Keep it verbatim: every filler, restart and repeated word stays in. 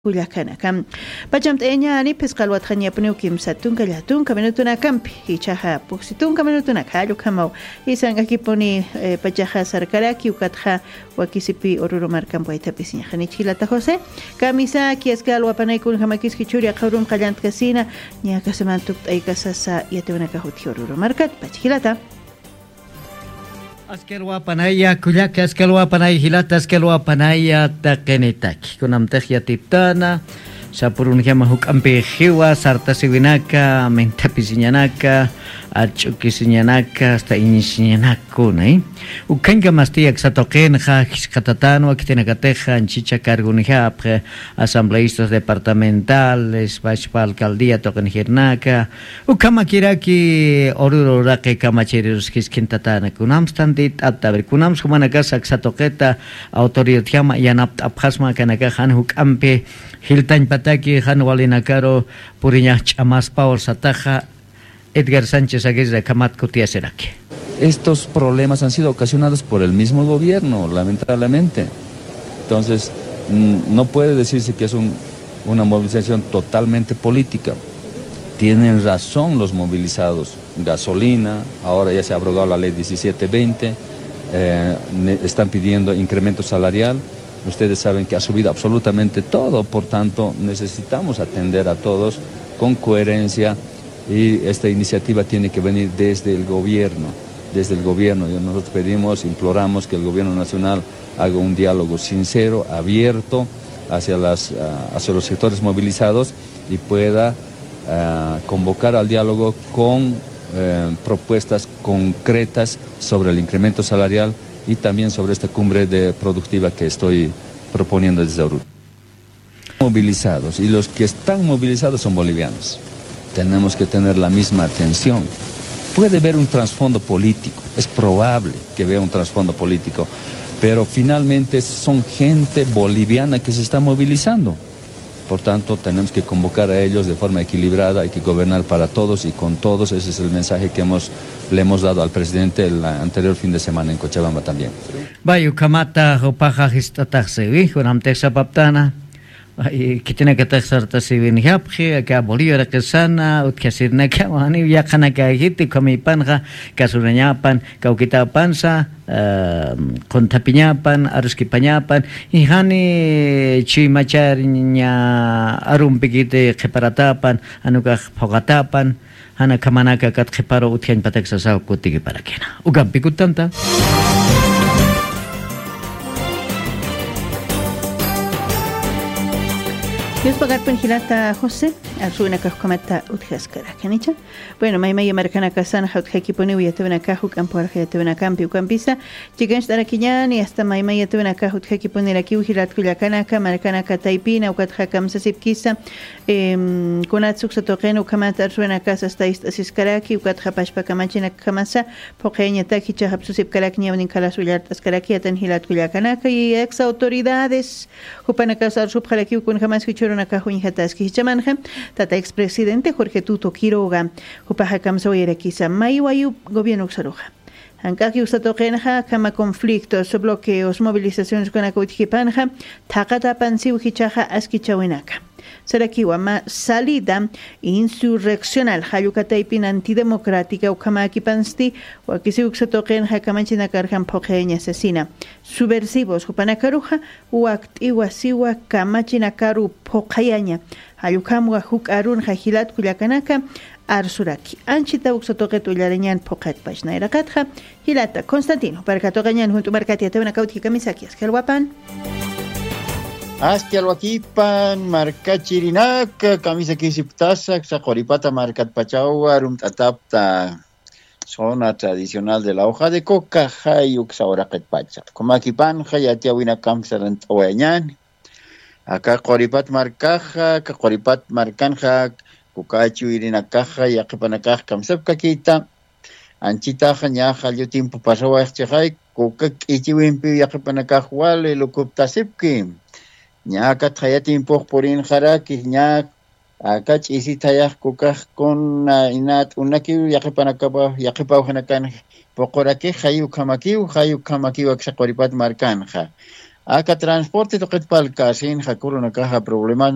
Kullakanaka pachamt'ayañani phisqa alwatxañapuniw kimsa tunka llatunka minutunakampi, ichaxa puksi tunka minutunaka jallukamaw. Isank'akipuni pachaxa sarkaraki ukatxa wakisipi ururu markampi waytapisiñaxani chhilata josé. Kamisaki askal wapanaykunjamakiski churi aqhawrum qallantkasina. Ñakasaman tukt'aykasasa yatiwanakax utji ururu markatpach jilata. Askalwapanaya kullaka askalwapanaya jilata askalwapanaya taqinitaki kunamtix yatiptana. Sapurunjama juk'ampi jiwa sartasiwinaka mintapisiñanaka ach'ukisiñanaka asta iñisiñanakuna. Ukhañkamasti aksatuqinxa jisqatatanwa khitinakatixa anchicha cargunjapxi asambleistas departamentales pachpa alcaldía tuqinjirinaka. Ukhamakiraki ururu uraqi kamachirirus jiskintatana kunamstantit'ata ver kunamskumanakasa aksatuqita autoridadjama yanapt'apxasma kanakaxan juk'ampi jiltañpataki jan walinakaru puriñax ch'amaspaw sataxa. Edgar sánchez aguirra kamatkutiyasiraki. Estos problemas han sido ocasionados por el mismo gobierno lamentablemente. Entonces no puede decirse que es una movilización totalmente política. Tienen razón los movilizados. Gasolina, ahora ya se ha abrogado la ley diecisiete veinte. Están pidiendo incremento salarial. Ustedes saben que ha subido absolutamente todo por tanto necesitamos atender a todos con coherencia. Y esta iniciativa tiene que venir desde el gobierno. Desde el gobierno nosotros pedimos imploramos que el gobierno nacional haga un diálogo sincero abierto hacia los sectores movilizados y pueda convocar al diálogo con propuestas concretas sobre el incremento salarial y también sobre esta cumbre productiva que estoy proponiendo desde ahorita. Movilizados y los que están movilizados son bolivianos. Tenemos que tener la misma atención. Puede haber un trasfondo político, es probable que vea un trasfondo político, pero finalmente son gente boliviana que se está movilizando. Por tanto tenemos que convocar a ellos de forma equilibrada hay que gobernar para todos y con todos ese es el mensaje que hemos le hemos dado al presidente el anterior fin de semana en cochabamba también. Vay ukhamata jupaxa jist'ataxsiwi kunamtix sapaptana. Khitinakatax sartasiwinjapxi aka bolillo raqisana utjasirinakawaniw yaqhanakajiti ukhamiypanxa kasurañapan kawkitapansa qunthapiñapan aruskipañapan. Jani chuymachar ña arumpikiti qhiparatapan jan ukax phuqatapan. Jana khamanaka kat qhiparu utjañpatak sasaw kutikiparakina ukampi kuttanta. Yuspagarpin jilata josé. Arsuwinakax ukhamata utjaskarakanicha. Bueno maymaya markanakasanxa utjakipuniw yatiwinakax uk'ampuwarxa yatiwinakampi ukampisa. Chikancht'arakiñani asta maymaya tuwinakax utjakipunirakiw jilatkullakanaka markanaka taypina ukatxa kamsasipkisa. Kunatsa uksa tuqin ukhamat arsuwinakas asta ist'asiskaraki ukatxa pashpa kamachinakjamasa phuqhiyañatak jichhaxa psusipkarak ñawnin khalas willart'askaraki atan jilatkullakanaka y ex autoridades. Jupanakas arsupxarakiw kunjamaski chhurunakax uñjataski jichhamanxa tata expresidente jorge tuto quiroga. Jupaxa kamsawayarakisa may wayu gobierno uksaruxa. Jank'aki uksatuqinxa akhama conflictos bloqueos movilizaciones ukanaka utjipanxa thaqatapansiw jichhaxa askichawinaka. Sarakiwa mä salida insurreccional jallukataypin antidemocrática ukhamäkipansti. Wakisiw uksatuqinxa kamachinakarjam phuqhiyañasasina subversivos jupanakaruxa wakt'iwasiwa kamachinakaru phuqhayaña. Jallukhamwa juk'arunxa jilatkullakanaka arsuraki anchita uksa tuqit ullarañan phuqhitpach nayraqatxa. Jilata constantino parkatuqañan junt'u markat yatiwinakawtji kamisaki aski alwapan. Aski alwakipan markachirinaka kamisakisipktasa aksa quripata markatpachawa rumt'atapta. Zona tradicional de la hoja de coca jay uksa uraqitpacha kumakipanxa yatiyawinakampi sarant'awayañani. Aka quripat markaxa aka quripat markanxa kuka chuyrinakaxa yaqhipanakax kamsapkakita. Anchitaxa ñaxa llutimpu pasawayxchixay kuka k'ichiwimpiw yaqhipanakax wali lukuptasipki. Ña aka thaya timpux purinxaraki ña aka ch'isithayax kukax kuna ina t'unakiw yaqhipanakapaw yaqhipawjanakan puqurakix jay ukhamakiw jay ukhamakiw aksa quripat markanxa. Aka transporte tuqitpal kasin jakurunakaxa problemas